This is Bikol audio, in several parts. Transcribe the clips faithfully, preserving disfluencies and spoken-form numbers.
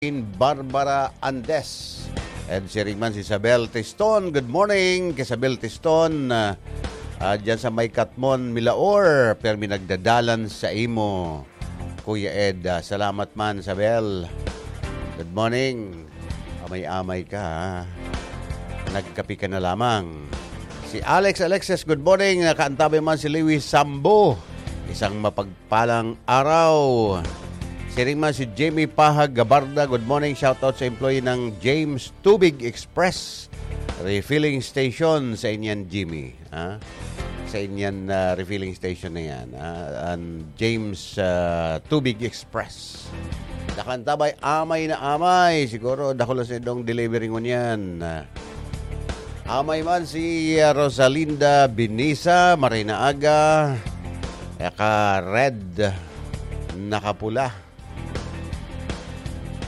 Barbara Andes. And siring man si Isabel Tiston. Good morning kay Isabel Tiston. Ah, ah, dyan sa may Katmon, Milaor. Permi nagdadalan sa imo, Kuya Ed. Ah, salamat man, Isabel. Good morning. Amay-amay ka, ha? Nagkape ka na lamang. Si Alex Alexis, good morning. Nakaantabay man si Lewis Sambo. Isang mapagpalang araw. Siring man si Jimmy Pahag Gabarda, good morning. Shoutout sa employee ng James Tubig Express Refilling Station sa inyan, Jimmy. Ha? Sa inyan, ah, refilling station na yan. Ah, ang James, ah, Tubig Express. Nakaantabay, amay na amay. Siguro, dakula sa idong delivery ngunyan. Ah, amay man si, ah, Rosalinda Binisa, Marina Aga, naka-red, nakapula.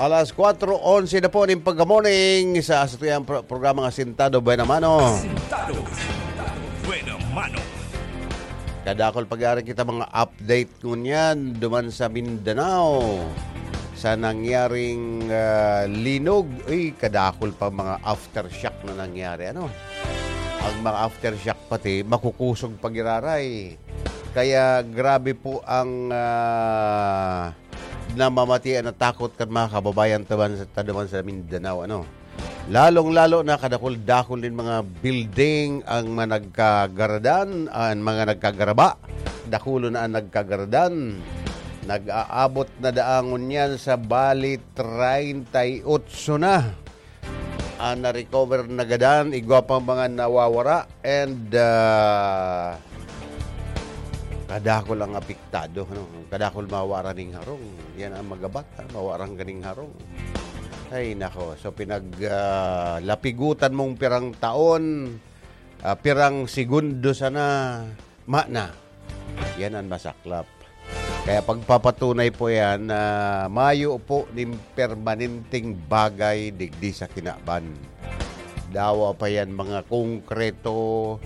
Alas kwatro onse na po ning pagka-morning sa satuyang pro-, programang Asintado Buena Mano. Asintado Buena Mano. Kadakol pag-aaring kita mga update ngunyan duman sa Mindanao sa nangyaring, ah, linog. Uy, kadakol pa mga aftershock na nangyari, ano? Ang mga aftershock pati makukusog pag-iraray. Kaya grabe po ang, ah, namamatian na takot kan mga kababayan taban sa, taduman sa Mindanao, ano. Lalong-lalo na kadakul-dakul nin mga building ang mga nagkagaradan, ang mga nagkagaraba. Dakulo na ang nagkagaradan. Nag-aabot na daangon yan sa bali treinta y ocho na. Ah, na-recover na gadan, igwa pang mga nawawara, and, ah, kadakul ang apektado, ano? Kadakul mawara ning harong. Yan ang magabat, ha? Mawaran ka ning harong. Ay, nako. So, pinag, ah, lapigutan mong pirang taon, ah, pirang segundo sana, mana. Yan ang masaklap. Kaya pagpapatunay po yan na mayo po nin permanenteng bagay digdi sa kinaban. Dawa pa yan mga konkreto,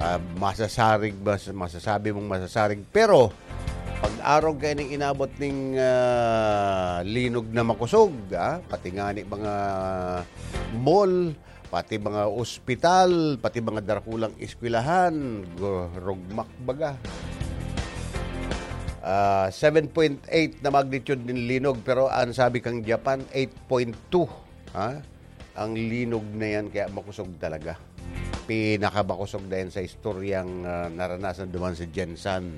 ah, masasarig, mas-, masasabi mong masasarig. Pero, pag arog kayo ning inabot ning, ah, linog na makosog, ah, pati nga ni mga mall, pati mga ospital, pati mga darakulang eskwelahan, gu-, rugmak baga. Ah, seven point eight na magnitude nin linog, pero ang sabi kang Japan, eight point two, ha? Ang linog na yan, kaya makusog talaga. Pinakamakusog na yan sa istoryang, ah, naranasan duman sa Gensan.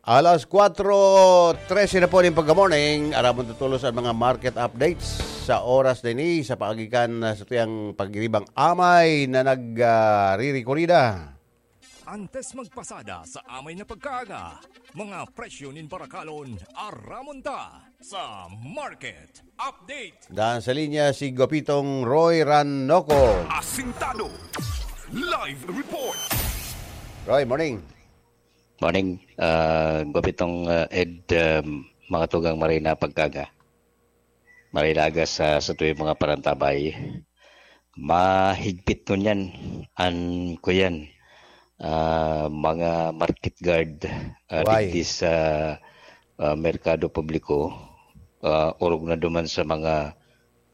Alas kwatro trese na po ning pagka-morning. Aramon tutulos ang mga market updates sa oras na ini sa paagikan na sa tuyang pagiribang amay na nag, ah, ririkurida. Antes magpasada sa amay na pagkaaga, mga presyo nin barakalon, aramon ta sa market update. Dan sa linya si Gopitong Roy Ranoco. Asintado. Live report. Roy, morning. Morning, ah, Gopitong, ah, Ed, um, mga tugang, maray na pagkaga. Maray na aga sa, sa tuyong mga parantabay. Mahigpit ngunyan an, kuyan, ah, mga market guard, ah, Why? Digdi sa, ah, merkado publiko, ah, orog na duman sa mga,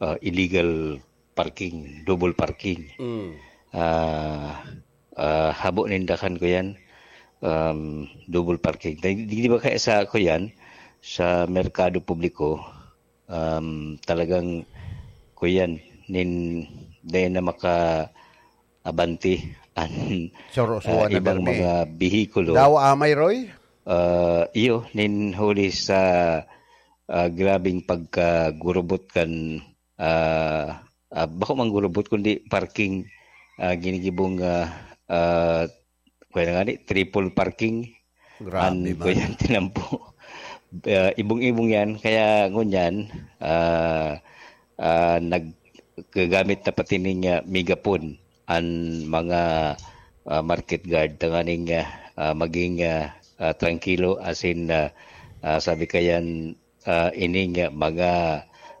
ah, illegal parking, double parking. Mm. Ah, ah, habo ninda kan, kuyan, um, double parking. Di, di ba kaya sa, kuyan, sa merkado publiko, um, talagang, kuyan, nin, dahil na maka-, abante an, Sorosuan ah, na ibang bermi. Mga bihikulo. Dawa amay, Roy? Ah, iyo, nin huli sa, ah, grabing pagkagurubot kan, ah, ah, bako man gurubot, kundi parking, ah, ginigibong, ah, ah, kaya na nga ni, triple parking. Grabe an man. Kuyan tinampo. Ah, ibong-ibong yan. Kaya ngunyan, ah, ah, naggagamit na pati ning, ah, megaphone an mga, ah, market guard tanganing, ah, ah, maging, ah, ah, trangkilo, asin, ah, ah, sabi kayan, ah, ining, ah, mga,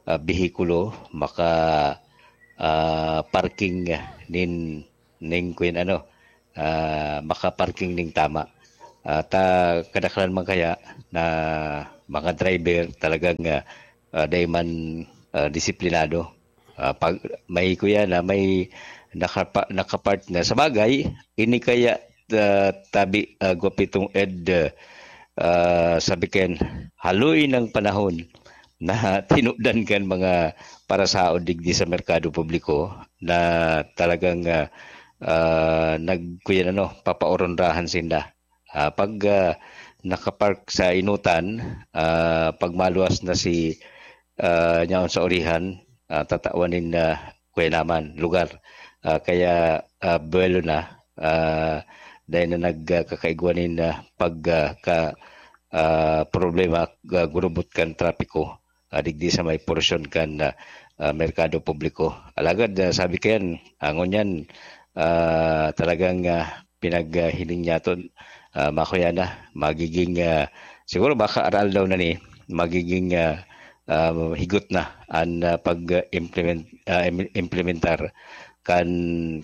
ah, behikulo maka, ah, parking nin, ning kuyan ano, ah, maka-parking ning tama. Ah, ta kadaklan man kaya na mga driver talagang, ah, ah, dai man, ah, disiplinado. Ah, pag may kuya na may nakapa nakapark na, sa bagay, ini kaya, ah, tabi, ah, Guapitong Ed, ah, sabi ken, haloy ng panahon na tinudan kan mga parasaod digdi sa merkado publiko na talagang, ah, ah, nag kuyan ano, papaoronrahan sinda. Ah, pag, ah, nakapark sa enotan, ah, pag maluwas na si, ah, nyaon sa urihan, ah, tatawan nin, ah, kuya naman, lugar. Ah, kaya, ah, buwelo na, ah, dai na nagkakaigwa nin, ah, pag, ah, ka, ah, problema, ah, gurubot kan trapiko, ah, digdi sa may porsyon kan, ah, ah, merkado publiko. Alagad, ah, sabi ko yan, ah, ngunyan, ah, talagang, ah, pinaghiling niya to, ah, makuya na, magiging, ah, siguro baka aral daw na ni, magiging, ah, ah, higot na an, ah, pag-implement, ah, im implementar kan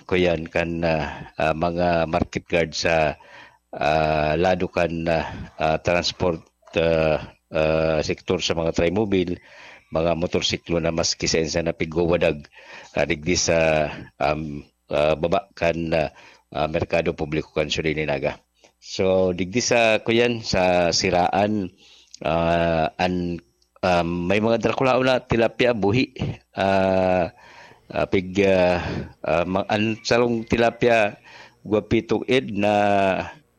kuyan, kan, ah, ah, mga market guard sa, ah, lado kan, ah, ah, transport, ah, ah, sektor sa mga trimobile, mga motorsiklo na maski saen sa napigwawadag, ah, digdi sa, um, ah, baba kan, ah, ah, merkado publiko kan Siyudad ni Naga. So, digdi sa kuyan, sa Siraan, ah, an, ah, may mga drakulaon na tilapia buhi. Ah, ah, pig, ah, ah, ma an sarong tilapia guwapitong ed na,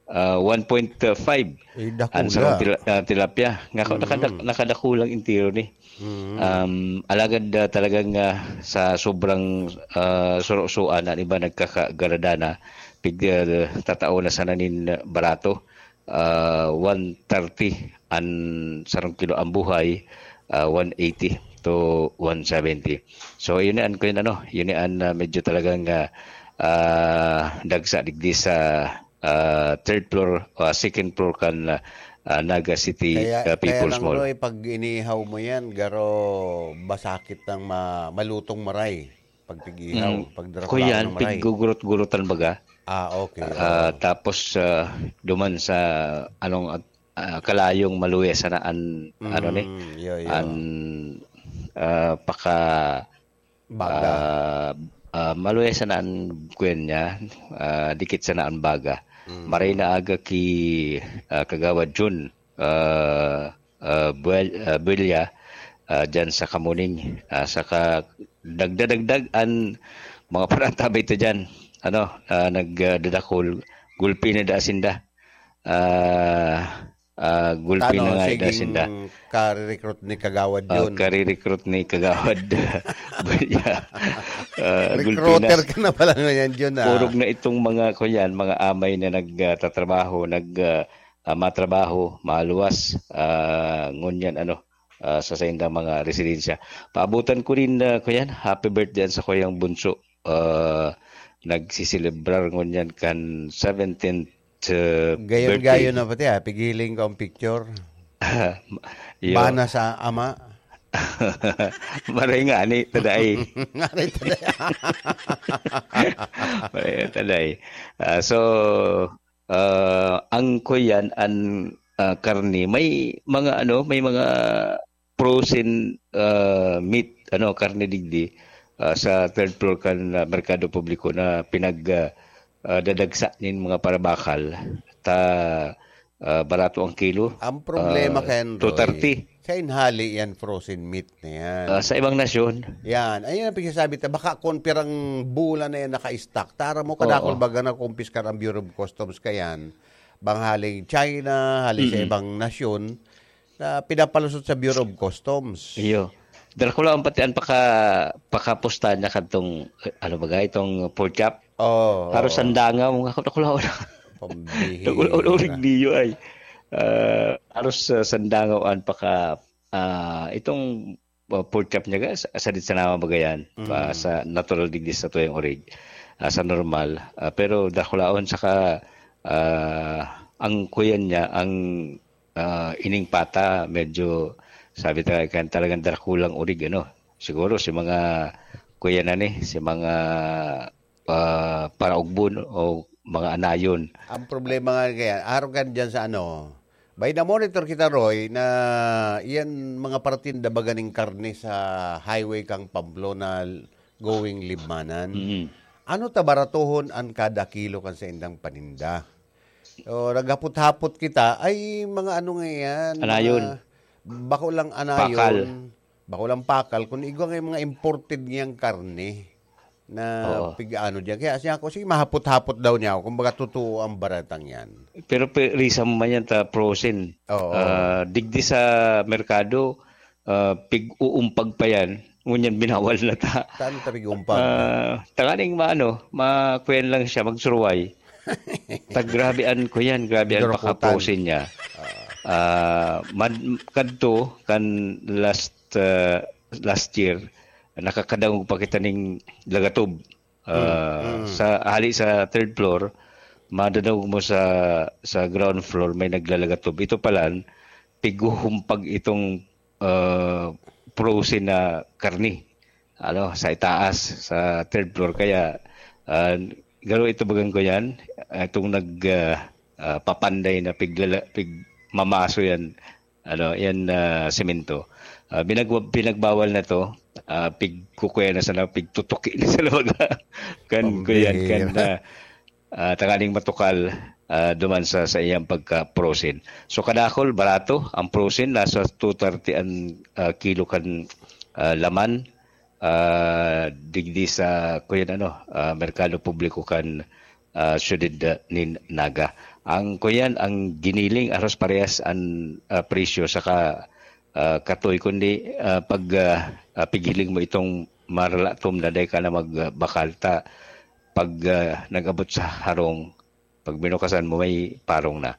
ah, one point five Ay, an dakula. sarong tila ah, tilapia. Ngako nakadak Mm. nakadakulang entero ni. Mm. Um, alagad, ah, talagang, ah, sa sobrang, ah, suro-suan, an iba nagkakagarada na, pig ah, tatao na sana nin barato. Ah, one thirty an sarong kilo, an buhay, ah, one eighty to one seventy. So, yun an kuyan ano, yun an, ah, medyo talagang, ah, ah, dagsa digdi sa, ah, third floor, ah, second floor kan, ah, Naga City, Kaya ah, kaya People's lang, Mall. Roy, pag inihaw mo yan, garo masakit ng ma malutong maray. Pag pig-ihaw, Mm. pag Kuyan, drakulaon ng maray. piggugurot-gurutan baga. Ah, okay, Ah, oo. tapos, ah, duman sa anong, ah, kalayong maluya sana an ano ni, Mm, yo, yo. an, ah, paka Baga. ah, ah, maluya sana an kuyan niya, ah, dikit sana an baga. Mm. Maray na aga ki, ah, Kagawad Jun, ah, ah, Buel ah, Buelya, ah, diyan sa Kamuning. Ah, saka dagda-dagdag an mga paratabay ta diyan. Ano, ah, nag ah, dadakul, gulpi na daa sinda. Ah, ah, gulpi Tano, na nga ida sinda. siging kare-recruit ni Kagawad Ah, Jun. kare-recruit ni Kagawad Buelya. Ah, gulpi na. Recruiter ka na pala ngayon, Jun, ah. Purog na itong mga, kuyan, mga amay na nag ah, tatrabaho, nag ah, ah, matrabaho, maluwas, ah, ngunyan, ano, ah, sa saindang mga residensya. Paabutan ko rin, ah, kuyan, happy birthday sa kuyang bunso. Ah, nagsiselebrar ngunyan kan seventeenth, ah, Gayon-gayon birthday. na pati, ah. Pigiling ko ang picture. Iyo. Bana sa ama. Maray nga, ani, taday. Maray taday. Maray taday. Ah, so, ah, ang kuyan, an, ah, karne, may mga ano, may mga frozen, ah, meat, ano, karne digdi, ah, sa third floor kan, ah, merkado publiko na pinag, ah, ah, dadagsa nin mga parabakal. Ta, ah, barato ang kilo. Ang problema, Ah, Ken Roy, two thirty. Sa inhali yan, frozen meat na yan. Ah, sa ibang nasyon. Yan. Ayun ang pagsasabi ta. Baka kung pirang bulan na yan naka-stock. Tara mo, kadakol Oo. baga na kumpiskar ang Bureau of Customs kayan. Bang haling China, haling sa Mm. ibang nasyon, na pinapalusot sa Bureau of Customs. Iyo. Drakulaon pati an paka pakapusta niya kadtong, eh, ano baga, itong pork chop. Oo, Haros oo. sandangaw, mga kadakulaon. Pambihira. Urig niyo ay. Ah, haros, ah, sandangaw an paka, ah, itong, ah, pork chop niya ga, sa, sa dit sa nama baga yan. Pa, Mm. sa natural digdi sa tuyang orig. Ah, sa normal. Ah, pero dakulaon saka, ah, ang kuyan niya, ang, ah, ining pata, medyo, sabi ta, kan talagang dakulang orig, ano. Siguro si mga kuya na ni, si mga, ah, paraugbo o mga anayon. Ang problema nga kaya, arog kan dyan sa ano, May na-monitor kita, Roy, na iyan mga paratinda baga ning karne sa highway kang Pamplona going Libmanan. Mm. Ano ta baratohon an kada kilo kan saindang paninda? O, naghapot-hapot kita, ay mga ano nga yan, mga Anayon. bako lang anayon, Pakal. bako lang pakal, kung igwa nga yung mga imported niyang karne na Oo. pig-ano diyan. Kaya siya ako, sige, mahapot-hapot daw niya ako, kumbaga totoo ang baratang yan. Pero pe-, risa mo man yan ta frozen. Oo. Ah, digdi sa merkado, ah, pig-uumpag pa yan. Ngunyan binawal na ta. Saan ta pig-uumpag? Ah, tanganing maano, makuyan lang siya, magsuruway. Ta grabe an kuyan, grabe an Durakutan. paka-frozen niya. Ah. Ah, mad-, kadto kan last, ah, last year, nakakadangog pa kita ning lagatob. Ah, Mm, mm. sa, hali sa third floor, madadangog mo sa, sa ground floor, may naglalagatob. Ito pala, pighuhumpag itong, ah, frozen na karni, ano, sa itaas, sa third floor. Kaya, ah, garo ito bagang ko yan, itong nag, ah, ah, papanday na piglala-, pigmamaso yan, ano, yan, ah, semento. Ah, binagwa-, pinagbawal na to, ah, pigkukuya na sana, pigtutuki na sana baga. Kan, kuyan, kan, Pambihira. ah, ah, tanganing matukal, ah, duman sa, sa iyang pagka-frozen. So, kadakol, barato, ang frozen, nasa two thirty an, ah, kilo kan, ah, laman, ah, digdi sa, kuyan, ano, ah, merkado publiko kan, ah, siyudad, ah, nin Naga. Ang, kuyan, ang giniling, aros parehas an, ah, presyo, saka, ah, katoy, kundi, ah, pag, ah, ah, pighiling mo itong maralatom na dai ka na magbakal ta, pag, ah, nag-abot sa harong, pag binukasan mo, may parong na.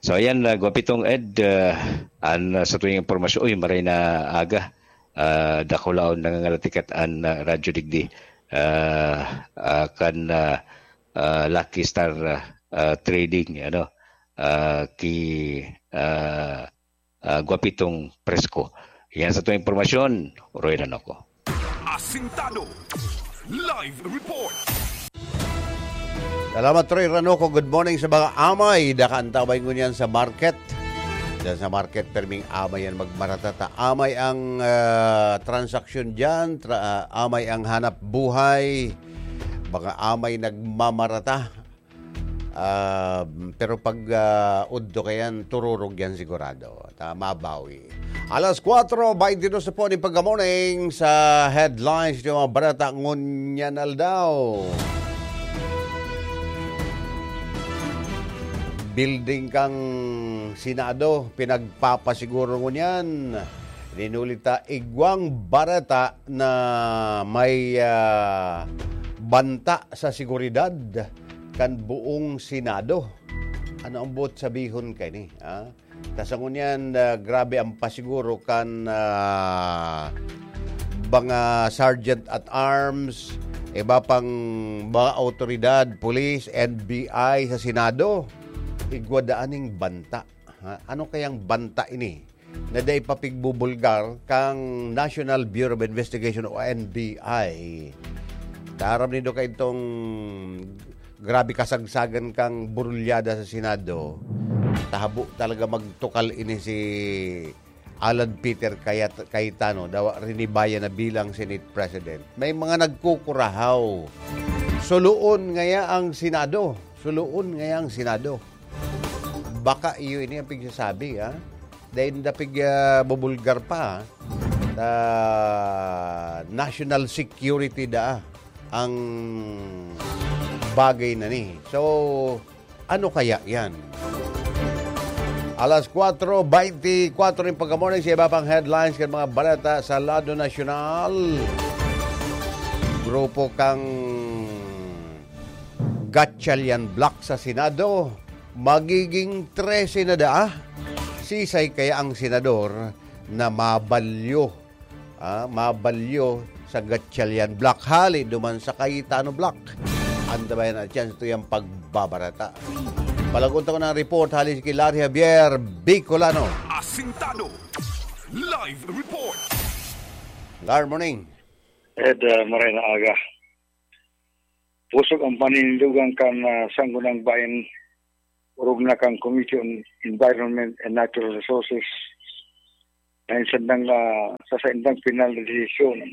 So, ayan, ah, Gwapitong Ed, ah, an, ah, sa tuwing impormasyon, uy, maray na aga, ah, dakulaon nangangalatikat an, ah, Radyo Digdi, ah, ah, kan, ah, ah, Lucky Star, ah, ah, Trading, ano, ah, ki, ah, ah, Gwapitong Presko. Yan sa tuwing impormasyon, Roy Ranoco. Asintado. Live report. Salamat, Roy Ranoco. Good morning sa mga amay. Daka an tabay ngunyan sa market. Diyan sa market, perming amay yan magmarata ta. Amay ang, ah, transaksyon diyan, tra-, ah, amay ang hanap buhay. Mga amay nagmamarata. Ah, pero pag, ah, udto kayan, tururog yan sigurado. Ta-, mabawi. Alas kwatro baynte dos na po nin pagka-morning sa headlines ng mga barata ngunyan aldaw. Building kang Senado, pinagpapasiguro ngunyan. Ninulita igwang barata na may, ah, banta sa seguridad kan buong Senado. Ano ang buot sabihon kaini, ha? Ta sa ngunyan, ah, grabe ang pasiguro kan, ah, mga sergeant at arms, iba pang mga awtoridad, pulis, N B I sa Senado. Igwa daan ning banta. Ha? Ano kayang banta ini na dai pa pigbubulgar kang National Bureau of Investigation o N B I? Taram nindo kaitong grabe kasagsagan kang burulyada sa Senado. Tahabo talaga magtukal ini si Alan Peter Cayet-, Cayetano, dawa rinibayan na bilang Senate President. May mga nagkukurahaw. Suluon ngaya ang Senado. Suluon ngaya ang Senado. Baka iyo ini ang pigsasabi, ha? Dahil dapig, ah, bubulgar pa, ha? Ah, national security da ang bagay na ni. So, ano kaya yan? Alas kwatro baynte kwatro nin pagkamorning sa iba pang headlines kan mga baleta sa lado nasyonal. Grupo kang Gatchalian Bloc sa Senado, magiging trese na daa. Sisay kaya ang senador na mabalyo, ah, mabalyo sa Gatchalian Bloc hali duman sa Cayetano Bloc? Antabayan na chance to yung pagbabarata. Palagunta ko ng report hali si Larry Javier Bicolano. Asintado. Live report. Larry, morning. Ed, ah, maray na aga. Pusog ang paninindugan kan, ah, Sangguniang Bayan orog na kan Committee on Environment and Natural Resources na sa saindang, ah, sa saindang final na desisyon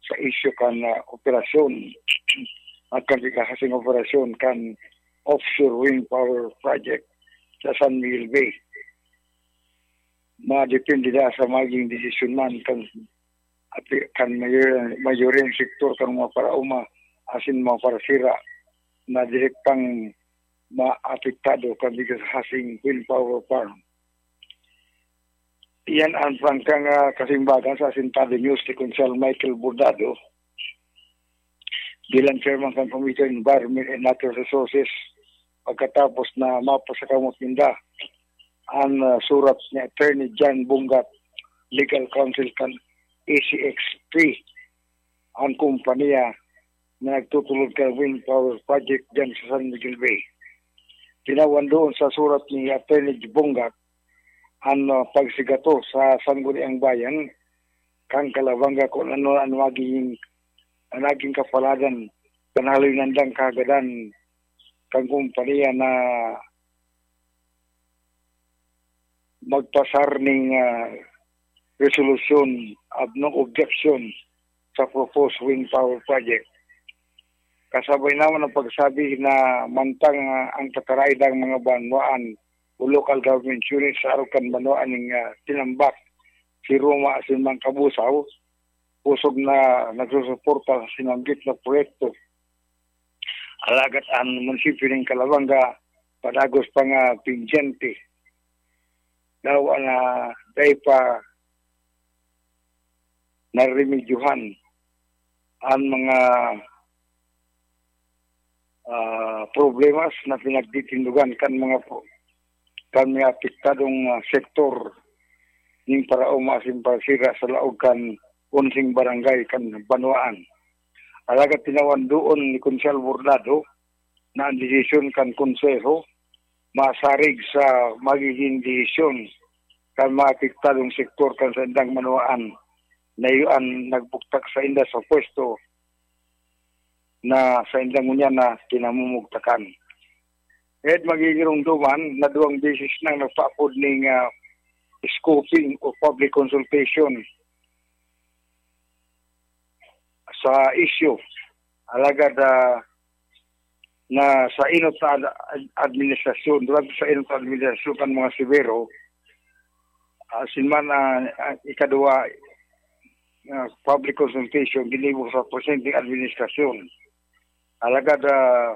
sa isyu kan, ah, operasyon at kan pikahasing operasyon kan offshore wind power project sa San Miguel Bay. Madepende na sa magiging desisyon man kan, kan mayor-, mayoreng sektor kan mga paraoma asin mga parasira na direktang maapektado kan pikahasing wind power farm. Iyan ang prangkang, ah, kasimbagan sa Asintado News ni Konsehal Michael Bordado bilang chairman kan Committee on Environment and Natural Resources pagkatapos na mapasakamot ninda an, ah, surat ni Attorney John Bungat, Legal Counsel kan A C X P, ang kompanya na nagtutulod kan wind power project diyan sa San Miguel Bay. Tinawan doon sa surat ni Attorney Bungat an, ah, pagsigato sa Sangguniang Bayan kan Calabanga kung ano ang magiging, ang naging kapaladan kan haloy nandang kahagadan kan kompanya na magpasar ning, ah, resolusyon of no objection sa proposed wind power project. Kasabay naman ang pagsabi na mantang, ah, ang tataraydang mga banwaan o local government unit sa arog kan banwaan ning, ah, tinambak si Roma asin Mangkabusaw, kusog na nagsusuporta sa sinanggit na proyekto. Alagad ang munisipyo ning Calabanga padagos pa nga pendyente daw na dai pa naremedyohan ang mga, ah, problemas na pinagtitindogan kan mga po-, kan mga apektadong, ah, sektor ning paraoma asin parasira sa laog kan onseng barangay kan banwaan. Alagad tinawan doon ni Konsehal Bordado na ang desisyon kan Konseho masarig sa magiging desisyon kan mga apektadong sektor kan saindang banwaan na iyo an nagbugtak sainda sa pwesto na sainda ngunyan na kinamumugtakan. Ed magigirong duman na duwang beses nang nagpaapod ning, ah, scoping o public consultation sa isyu. Alagad, ah, na sa inot na ad-, ad-, administrasyon, durante sa inot na administrasyon kan mga Severo, ah, sin man, ah, ah, ikaduwa, ah, public consultation, ginibo sa presenteng administrasyon. Alagad, ah,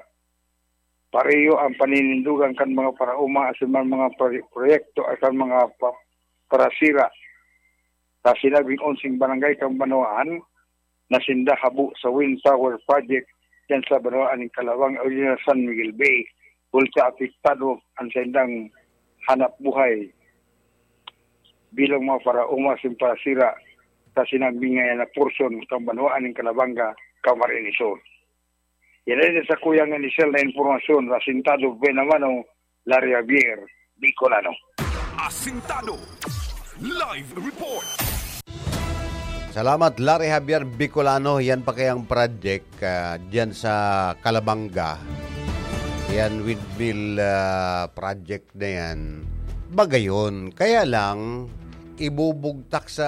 pareho ang paninindogan kan mga paraoma asin man mga proye-, proyekto asin mga pa-, parasira sa sinabing onseng barangay kan banwaan na sinda habo sa wind power project diyan sa banwaan nin Calabanga o diyan sa San Miguel Bay, bulsa apektado ang saindang hanap buhay bilang mga paraoma asin parasira sa sinabing, ah, na porsyon kan banwaan nin Calabanga, Camarines Sur. Yan ay sa kuyang inisyal na impormasyon, Asintado Benamano, Larry Javier, Bicolano. Asintado Live Report. Salamat, Larry Javier Bicolano. Yan pa kayang project, ah, dyan sa Calabanga. Yan, windmill, ah, project na yan. Bagayon, kaya lang, ibubugtak sa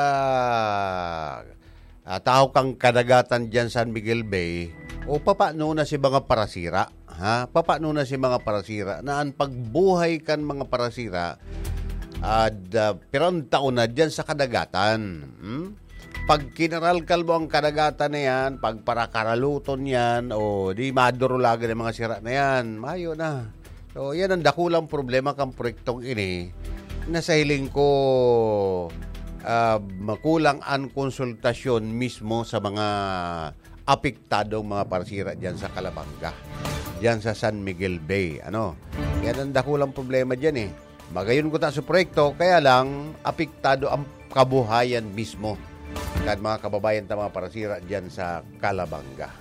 ah, tahaw kan kadagatan diyan San Miguel Bay, o papaano na si mga parasira, ha? Papaano na si mga parasira na an pagbuhay kan mga parasira, ad, ah, pirang taon na diyan sa kadagatan, hmm? Pag kinaralkal mo ang kadagatan na yan, pagparakaraluton yan, o di madurulagan ang mga sira na yan, mayo na. So, yan ang dakulang problema kan proyektong ini, na sa hiling ko, ah, makulang an konsultasyon mismo sa mga apektadong mga parsira diyan sa Calabanga, diyan sa San Miguel Bay, ano. Yan ang dakulang problema diyan, eh. Magayon kuta sa proyekto, kaya lang apektado ang kabuhayan mismo kan mga kababayan ta mga parsira diyan sa Calabanga.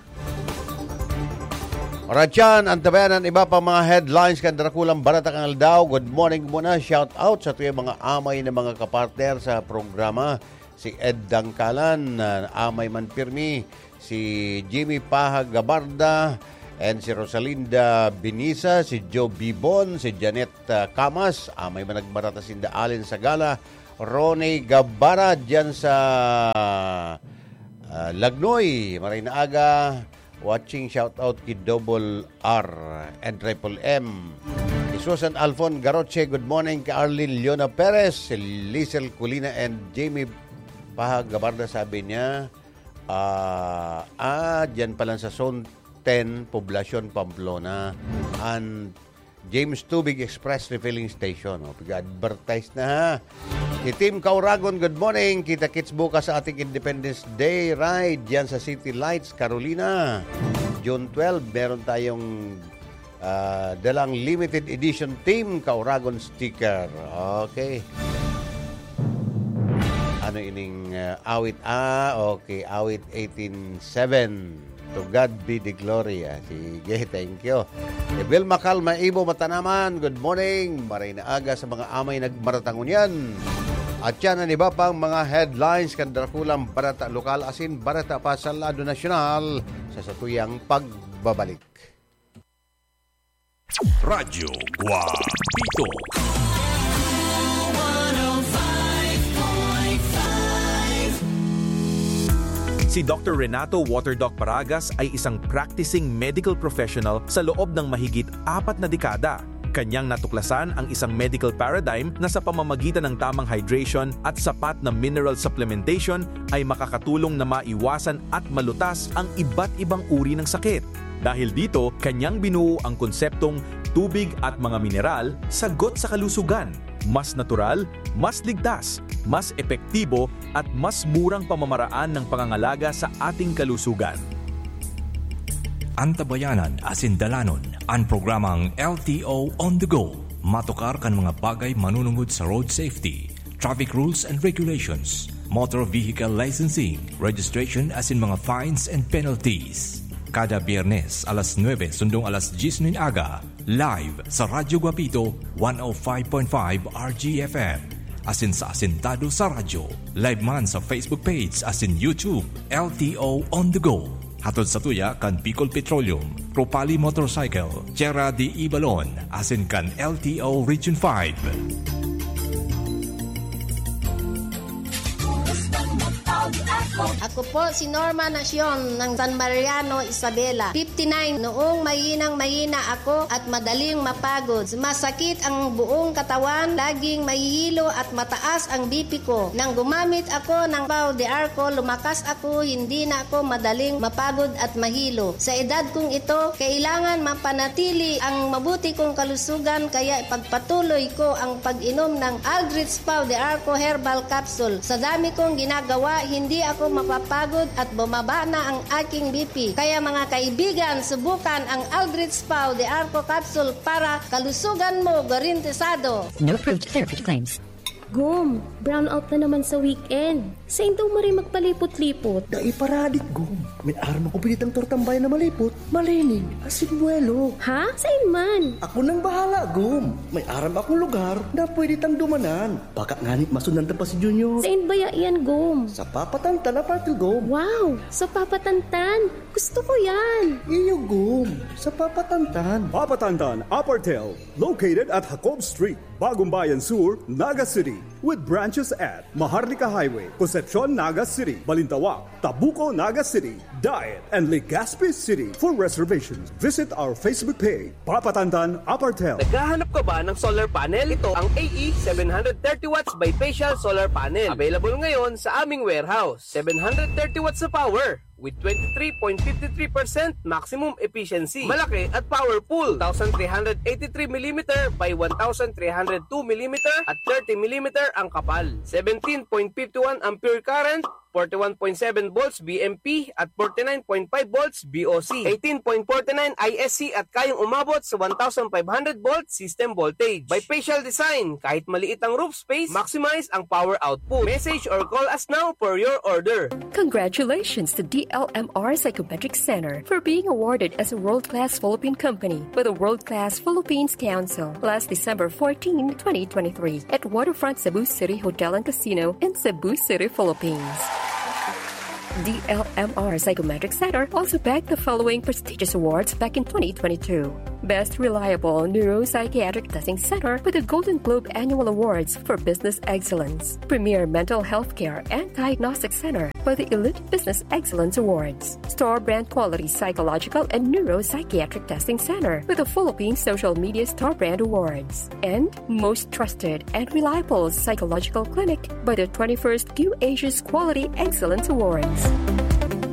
Alright, yan. Antabayan an iba pang mga headlines kan Drakulang Barata kan Aldaw. Good morning muna. Shout out sa tuyang mga amay na mga kapartner sa programa. Si Ed Dangkalan, ah, amay man pirmi. Si Jimmy Paha Gabarda, And si Rosalinda Binisa, si Joe Bibon, si Janet, ah, Camas, ah, may managmarata sinda Allen Sagala, Ronnie Gabara dyan sa, ah, Lagnoy. Maray na aga, watching, shout out ki Double R and Triple M. Si Susan Alfon Garoche, good morning. Ki Arlene Leona Perez, si Lizel Colina and Jamie Paha Gabarda, sabi niya, ah, ah, dyan pa lang sa Zone ten, Poblacion, Pamplona. An James Tubig Express Refilling Station. O, pag-advertise na, ha. Si Team Kauragon, good morning. Kita-kits bukas sa ating Independence Day Ride diyan sa City Lights, Carolina. June twelve, meron tayong, ah, dalang limited edition Team Kauragon sticker. Okay. Ano ining, ah, awit? Ah, okay. Awit eighteen seven. To God be the glory. Ah, sige, thank you. Si Vilma Calma Ibo Matanaman, good morning. Maray na aga sa mga amay nagmaratang ngunyan. At yan ang iba pang mga headlines kan Drakulang Barata Lokal asin Barata pa sa lado nasyonal sa satuyang pagbabalik. Radyo Guapito. Si Doctor Renato Waterdoc Paragas ay isang practicing medical professional sa loob ng mahigit apat na dekada. Kanyang natuklasan ang isang medical paradigm na sa pamamagitan ng tamang hydration at sapat na mineral supplementation ay makakatulong na maiwasan at malutas ang iba't ibang uri ng sakit. Dahil dito, kanyang binuo ang konseptong tubig at mga mineral, sagot sa kalusugan. Mas natural, mas ligtas, mas epektibo, at mas murang pamamaraan ng pangangalaga sa ating kalusugan. Antabayanan asin dalanon an programang L T O on the go. Matukar kan mga bagay manunungod sa road safety, traffic rules and regulations, motor vehicle licensing, registration asin mga fines and penalties. Kada Biyernes, alas nuebe sundong alas dyes nin aga, live sa Radyo Guapito, one oh five point five R G F M. Asin sa Asintado sa Radyo, live man sa Facebook page asin YouTube, L T O On The Go. Hatod sa tuya kan Bicol Petroleum, Propali Motorcycle, Tierra de Ibalon, asin kan L T O Region five. Ako po si Norma Nacion ng San Mariano, Isabela, fifty-nine. Noong mahinang-mahina ako at madaling mapagod, sumasakit ang buong katawan, laging mahihilo at mataas ang B P ko. Nang gumamit ako ng Pau de Arco, lumakas ako, hindi na ako madaling mapagod at mahilo. Sa edad kong ito, kailangan mapanatili ang mabuti kong kalusugan, kaya ipagpatuloy ko ang pag-inom ng Aldrich Pau de Arco Herbal Capsule. Sa dami kong ginagawa, hindi ako mapapagod at bumaba na ang aking B P. Kaya mga kaibigan, subukan ang Aldrich Pau de Arco Capsule para kalusugan mo garantisado. No approved therapy claims. Gom, brownout na naman sa weekend. Sain daw maray magpalipot-lipot? Dai paradik, Gom. May aram ako pinitang tortambay na malipot, malinig, asin buwelo. Ha? Sain man? Ako nang bahala, Gom. May aram akong lugar na pwede tang dumanan. Baka ngani masundan ta pa si Junior. Sain baya iyan, Gom? Sa Papatantan, Apartel, Gom. Wow! Sa Papatantan? Gusto ko yan! Iyo, Gom. Sa Papatantan. Papatantan, Apartel. Located at Jacob Street, Bagong Bayan Sur, Naga City. With branches at Maharlika Highway, Concepcion, Naga City, Balintawak, Tabuco, Naga City, Daet, and Legazpi City. For reservations, visit our Facebook page, Papatantan Apartel. Naghahanap ka ba ng solar panel? Ito ang A E seven hundred thirty watts bifacial solar panel. Available ngayon sa aming warehouse. Seven hundred thirty watts na power with twenty-three point fifty-three percent maximum efficiency. Malaki at powerful. Two thousand three hundred eighty-three millimeter by one thousand three hundred two millimeter at thirty millimeter ang kapal. Seventeen point fifty-one ampere current, forty-one point seven volts V M P at forty-nine point five volts V O C. Eighteen point forty-nine I S C at kayang umabot sa one thousand five hundred volt system voltage. Bifacial design, kahit maliit ang roof space, maximize ang power output. Message or call us now for your order. Congratulations to D L M R Psychometric Center for being awarded as a world-class Philippine company by the World Class Philippines Council last December fourteen, twenty twenty-three at Waterfront Cebu City Hotel and Casino in Cebu City, Philippines. D L M R Psychometric Center also bagged the following prestigious awards back in twenty twenty-two. Best Reliable Neuropsychiatric Testing Center with the Golden Globe Annual Awards for Business Excellence. Premier Mental Health Care and Diagnostic Center by the Elite Business Excellence Awards. Store Brand Quality Psychological and Neuropsychiatric Testing Center with the Philippine Social Media Store Brand Awards. And most trusted and reliable psychological clinic by the twenty-first Q Asia's Quality Excellence Awards.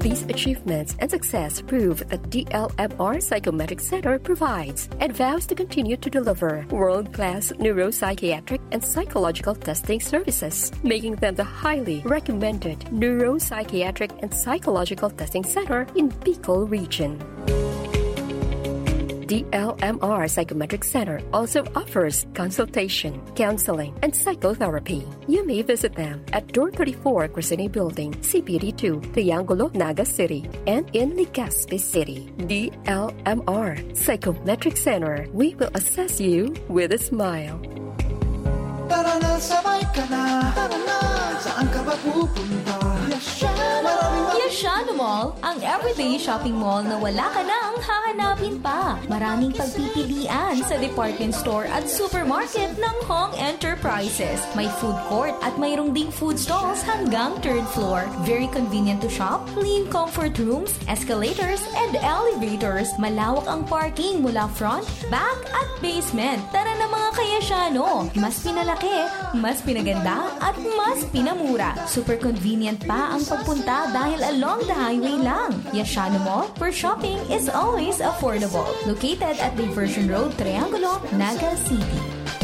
These achievements and success prove that D L M R Psychometric Center provides and vows to continue to deliver world-class neuropsychiatric and psychological testing services, making them the highly recommended neuropsychiatric and psychological testing center in Bicol region. D L M R Psychometric Center also offers consultation, counseling, and psychotherapy. You may visit them at Door thirty-four, Crescene Building, C P D two, Triangulo, Naga City, and in Legazpi City. D L M R Psychometric Center, we will assess you with a smile. Tara na, sabay ka na. Tara na, saan ka ba pupunta? Yashano Mall, ang everyday shopping mall na wala ka nang hahanapin pa. Maraming pagpipilian sa department store at supermarket ng Hong Enterprises. May food court at mayroong ding food stalls hanggang third floor. Very convenient to shop, clean comfort rooms, escalators, and elevators. Malawak ang parking mula front, back, at basement. Tara na, mga kayasyano! Mas pinalaki, mas pinaganda, at mas pinamura. Super convenient pa ang pagpunta dahil along the highway lang. Yashano Mall, where shopping is always affordable. Located at Diversion Road, Triangulo, Naga City.